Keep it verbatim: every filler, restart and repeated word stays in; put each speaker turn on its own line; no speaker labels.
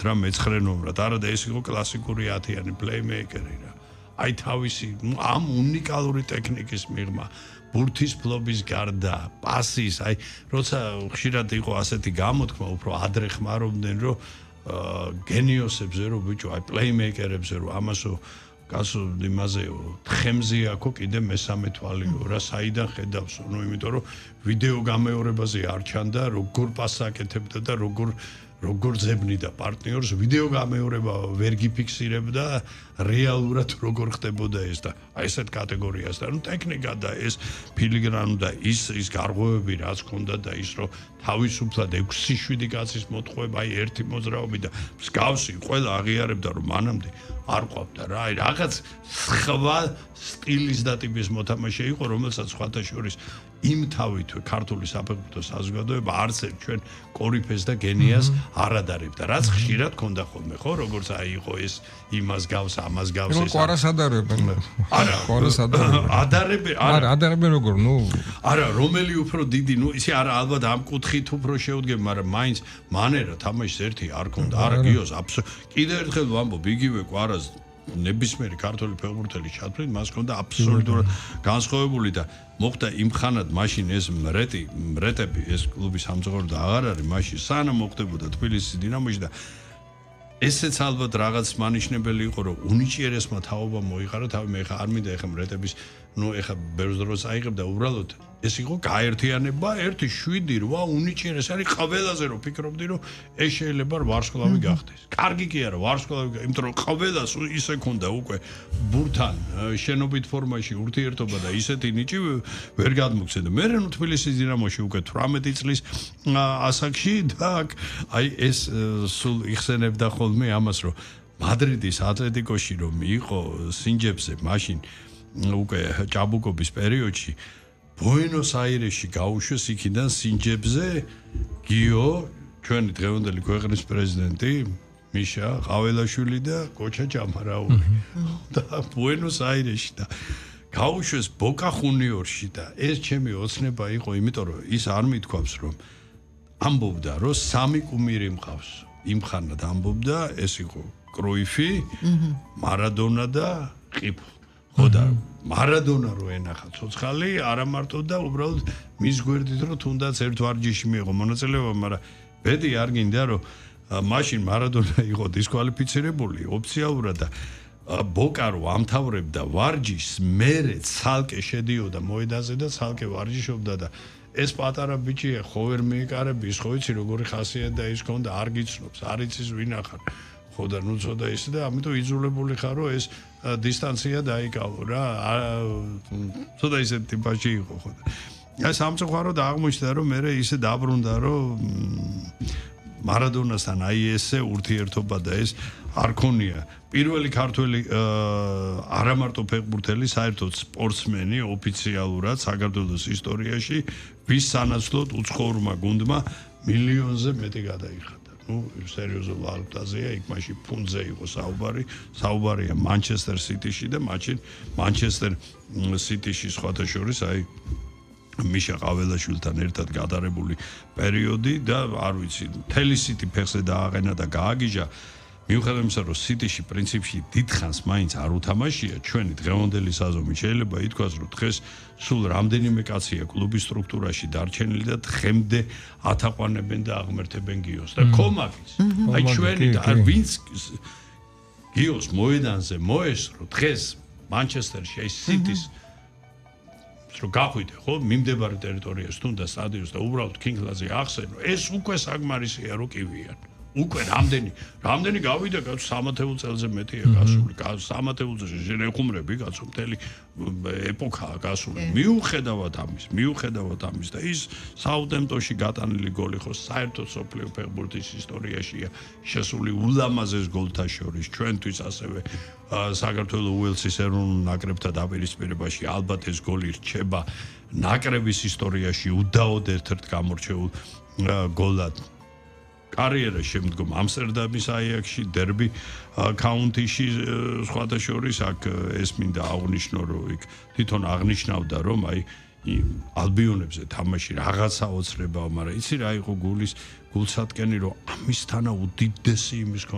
რა მეცხრე ნომრად. არა და ეს იყო კლასიკური ათიანი პლეიმეიკერი რა. აი თავისი ამ უნიკალური ტექნიკის მიღმა ბურთის ფლობის გარდა, პასის, აი როცა ხშირად იყო ასეთი გამოთქმა, უფრო ადრე ხმარობდნენ, რომ გენიოსებზე რო ბიჭო, აი პლეიმეიკერებზე რო ამასო გასო იმაზეო, თხემზე აქო კიდე მესამე თვალიო რა, საიდან ხედავსო, ну, იმიტომ რომ ვიდეო გამეორებაზე არ ჩანდა, როგორ პასაკეთებდა და როგორ როგორ ძებნიდა პარტნიორს, ვიდეო გამეორება ვერ გიფიქსირებდა რეალურად როგორ ხდებოდა ეს და აი ესეთ კატეგორიას და ну ტექნიკა და ეს ფილიგრანუ და ის ის გარღვევები რაც ქონდა და ის რომ თავისუფლად ექვსი შვიდი კაცის მოტყუება აი ერთი მოძრაობი და მსგავსი ყველა აღიარებდა რომ მანამდე არ ყვავდა რა აი რაღაც სხვა სტილის და ტიპის მოთამაშე იყო რომელსაც სხვათა შორის იმ თავით ქართული საფეხბურთო საზოგადოება არც ერთ ჩვენ კორიფეს და გენიას არ ადარებდა რაც ხშირად ქონდა ხოლმე ხო როგორც აი იყო ეს იმას გავს ამას გავს
ეს ყარას ადარებენ
არა
ყარას ადარებენ
ადარებენ
არა ადარებენ როგორ ნუ
არა რომელი უფრო დიდი ნუ ისე არა ალბათ ამ კუთხით უფრო შეუდგები მაგრამ მაინც მანერა თამაშის ერთი არ ქონდა არა გიოს კიდე ერთხელ ვამბობ იგივე ყარას ნებისმიერი ქართული ფეხბურთელი ჩათვლით მას ქონდა აბსოლუტურად განსხვავებული და მოხდა იმ ხანად მაშინ ეს მრეტი მრეტები ეს კლუბი სამწუხაროდ და აღარ არის მაშინ სანამ მოხდებოდა თბილისის დინამოში და ესეც ალბათ რაღაც მანიშნებელი იყო რომ უნიჭიერესმა თაობა მოიყარა თავი მე ხა არ მინდა ეხა მრეტების ნუ ეხა ბევრ დროს აიღებ და უბრალოდ ეს იყო გაერთიანება ერთი შვიდი რვა უნიჭიერეს არის ყველაზე რომ ფიქრობდი რომ ეს შეიძლება ვარსკვლავი გახდეს კარგი კი არა ვარსკვლავი იმიტომ რომ ყველას ისე ქონდა უკვე ბურთან შენობით ფორმაში ურთიერთობა და ისეთი ნიჭი ვერ გადმოგცემდა მე ნუ თბილისის დინამოში უკვე თვრამეტი წლის ასაკში და აი ეს სულ იხსენებდა ხოლმე ამას რომ მადრიდის ატლეტიკოში რომ იყო სინჯებზე მაშინ უკვე ჭაბუკობის პერიოდში ბუენოს აირესში გაუშვეს იქიდან სინჯებზე გიო ჩვენი დღევანდელი ქვეყნის პრეზიდენტი მიშა ყაველაშვილი და კოჩა ჭამარაული და ბუენოს აირესში და გაუშვეს ბოკა ხუნიორში და ეს ჩემი ოცნება იყო იმიტომ რომ ის არ მithქვავს რომ ამბობდა რომ სამი კუმირი მყავს იმ ხანად ამბობდა ეს იყო კროიფი მარადონა და ყიფო ხო და მარადონა რო ენახა ცოცხალი არა მარტო და უბრალოდ მის გვერდით რომ თუნდაც ერთ ვარჯიში მიიღო მონაწილეობა მაგრამ ბედი არ გინდა რომ მაშინ მარადონა იყო დისკვალიფიცირებული ოფიციალურად და ბოკა რო ამთავრებდა ვარჯიშს მერე ცალკე შედიოდა მოედანზე და ცალკე ვარჯიშობდა და ეს პატარა ბიჭია ხო ვერ მიეკარები ის ხო იცი როგორი ხასიათი და ის ქონდა არ გიცნობს არ იცის ვინ ახარ ხო და ნუ ცოტა ისე და ამიტომ იძულებული ხარ რომ ეს დისტანცია დაიკავო რა ცოტა ისე ტიპაში იყო ხო და აი სამწუხაროდ აღმოჩნდა რომ მე ისე დაბრუნდა რომ მარადონასთან აი ესე ურთიერთობა და ეს არ ქონია პირველი ქართველი არა მარტო ფეხბურთელი საერთოდ სპორტსმენი ოფიციალურად საქართველოს ისტორიაში ვის სანაცვლოდ უცხოურმა გუნდმა მილიონზე მეტი გადაიხადა ну სერიოზულ ვალუტაზეა იქ მაშინ ფუნდზე იყო საუბარი საუბარია მანჩესტერ სიტიში და მაშინ მანჩესტერ სიტიში სხვათა შორის აი მიშა ყაველაშვილთან ერთად გადარებული პერიოდი და არ ვიცი მთელი სიტი ფეხზე დააყენა და გააგიჟა მიუხედავად იმისა რომ სიტიში პრინციპში დიდხანს მაინც არ უთამაშია ჩვენი დღევანდელი საზომი შეიძლება ითქვას რომ დღეს სულ რამდენიმე კაცია კლუბის სტრუქტურაში დარჩენილი და დღემდე ათაყვანებენ და აღმერთებენ გიოს და კომაკის აი ჩვენი და ვინც გიოს მოედანზე მოესრო დღეს მანჩესტერში აი სიტის რომ გახვიდე ხო მიმდებარე ტერიტორიას თუნდა სტადიონს და უბრალოდ კინგლაზე ახსენო ეს უკვე საკმარისია რომ კივიან უკვე რამდენი რამდენი გავიდა კაცო სამათეულ წელზე მეტია გასული სამათეულ წელზე შენ ეხუმრები კაცო მთელი ეპოქაა გასული მიუხედავად ამის მიუხედავად ამის და ის საუთემპტონში გატანილი გოლი ხო საერთოდ სოფლიო ფეხბურთის ისტორიაშია შესული ულამაზეს გოლთა შორის ჩვენთვის ასევე საქართველოს უელსის ეროვნულ ნაკრებთან დაპირისპირებაში ალბათ ეს გოლი რჩება ნაკრების ისტორიაში უდაოდ ერთ-ერთ გამორჩეულ გოლად კარიერა შემდგომ ამსტერდამის აიაქსში დერბი კაუნტიში სხვათა შორის აქ ეს მინდა აღნიშნო რომ იქ თვითონ აღნიშნავდა რომ აი ალბიონებზე თამაში რაღაცა ოცნებაა მაგრამ იცი რა იყო გულის გულსატკენი რომ ამისთანა უდიდესი იმის